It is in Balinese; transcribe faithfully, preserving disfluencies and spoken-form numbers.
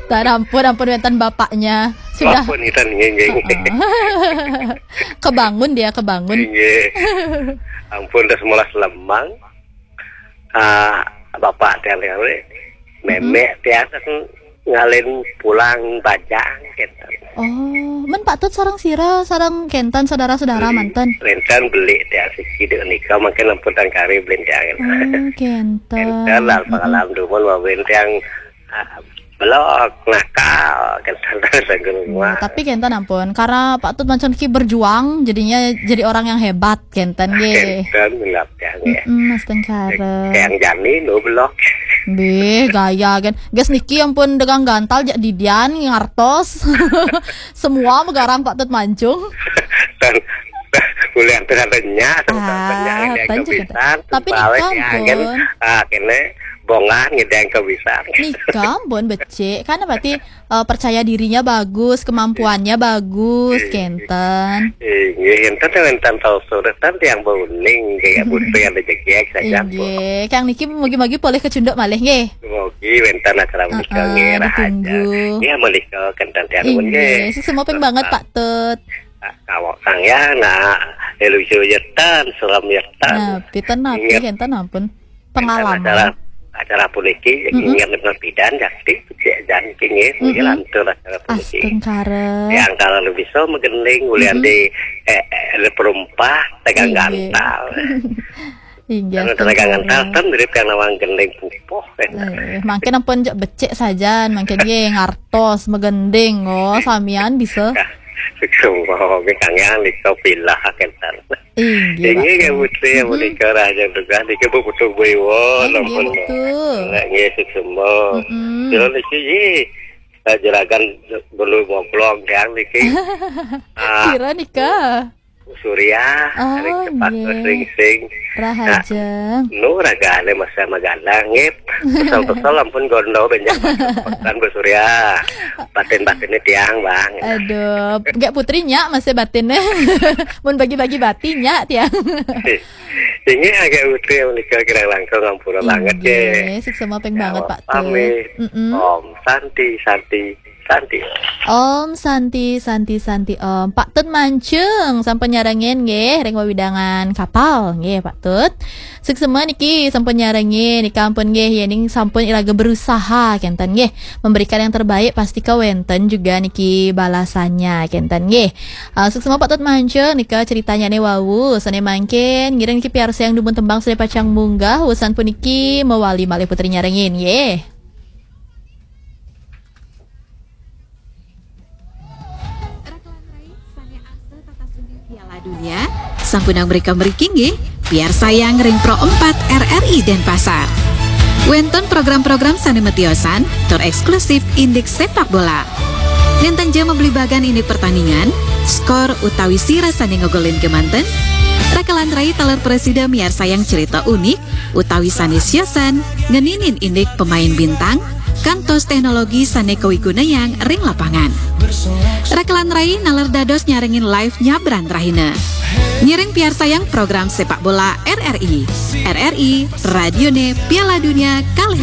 Tan, ampun, ampun, wénten bapaknya. Sudah. Ampun, Itan, nggih, nggih, nggih. Heeh. Kebangun dia, kebangun. Nggih. Ampun, dah semolas lemang. Ah, bapak tiang, tiang, mémé tiang ngalin pulang bajang, gitu. Oh, men Pak Tut sareng sira, sareng kénten saudara-saudara manten? Wénten beli tiang siki dek nika, mangkin ampun tangkari beli tiang. Oh, kénten. Kénten lah, pengalaman dumun, wawin tiang, ah, belok, nakal, kénten, sareng rumah. Tapi kénten ampun, karena Pak Tut mancun ki berjuang, jadinya jadi orang yang hebat, kénten, nggih. Kénten, milap tiang, ya. Mm-mm, astengkara. Tiang jani, nu belok. Bih, gaya, kan. Gas niki ampun dagang gantal, jak didian, ngartos. Semua megarang Pak Tut mancung. Dan, kuliah tuh katanya, sama Ah, katanya, ini tanjung kebisan, kata. Tapi balik nika ya, kan. Ampun. Ah, kene, bongan, ngedeng kebisan. Nika ampun becik. Karena berarti, eh, percaya dirinya bagus, kemampuannya bagus, kénten. Inggih, enten, enten tahu surat, kan tiang bauning, kayak butuh yang ada jegek saja, Bu. Inggih, Kang niki mugi-mugi polih kecunduk malih, nggih. Mugi wénten acara menika, heeh, nggih, rahaja. Ditunggu. Nggih, menika kénten tiang nuwun, nggih. Inggih, sukses moping banget, Pak Tut. Ah, kawak sang ya, nah, elusu yetan, selam yetan. Nah, piten napi, inggih, kénten ampun. Pengalaman. Acara, acara puniki, inggih, ingat bener pidan, jakti, cek jan kenging, inggih, lantur acara puniki. Astengkara. Yang kalau lebih so megending, ulian di, eh, eh, perumpah, tegang gantal. Inggih, tegang gantal, kan mirip yang nawang gending pupuh, kan. Eh, mangkin ampun jak becik saja, mangkin nggih ngartos, megending, oh, samian bisa. Suksma, nggih, Kang Yang, nika pilah, kénten. Inggih, inggih, Pak. Nggih, Putri, yang menika rahaja tugas, niki Bu Putu Bu Iwon, inggih, ampun. Betul. Nggih, suksma. Mm-mm. Kira niki, ih, eh, juragan dulu moblong, yang niki. Ah. Kira nika. Surya, oh, ring cepat, nggih, sing-sing. Rahaja. Nah, nu ragane masa magadang, nggih. Kesel-kesel ampun gondo benjang. Kan Bu Surya. Batin-batinnya tiang, Bang. Aduh, gak putrinya masih batinnya. Mun bagi-bagi batinnya tiang. Ini agak putri yang menikah kira langkung ampura banget, nggih. Inggih, suksma ping banget, Pak Tut. Pamit. Mm-mm. Om Santi, Santi, Santi. Om Santi, Santi, Santi, Om. Pak Tut mancung, sampun nyarengin, nggih, ring wewidangan kapal, nggih, Pak Tut. Suksma niki sampun nyarengin, nika ampun, nggih, yening sampun iraga berusaha, kénten, nggih. Memberikan yang terbaik, pasti kawénten juga niki balasannya, kénten, nggih. Ah, suksma Pak Tut mancung, nika ceritanya ne wau, sane mangkin, ngiring niki piarsa yang dumun tembang sane pacang munggah, wusan puniki mewali malih putri nyarengin, nggih. Rakelan rai sane asih tatas uning Piala Dunia, sampun ang mereka mriki nggih, piarsayang ring Pro empat R R I Denpasar. Wénten program-program sane metiosan tur eksklusif indik sepak bola. Nénten ja mabligbagan indik pertandingan, skor utawi sira sane ngogolin kemanten, rakelan rai taler presida miarsayang cerita unik, utawi sane siosan ngeninin indik pemain bintang, kantos teknologi sane kawigunayang ring lapangan. Rakelan rai naler dados nyarengin live nyabran rahina. Ngiring piarsayang program sepak bola R R I. R R I, radione Piala Dunia kalih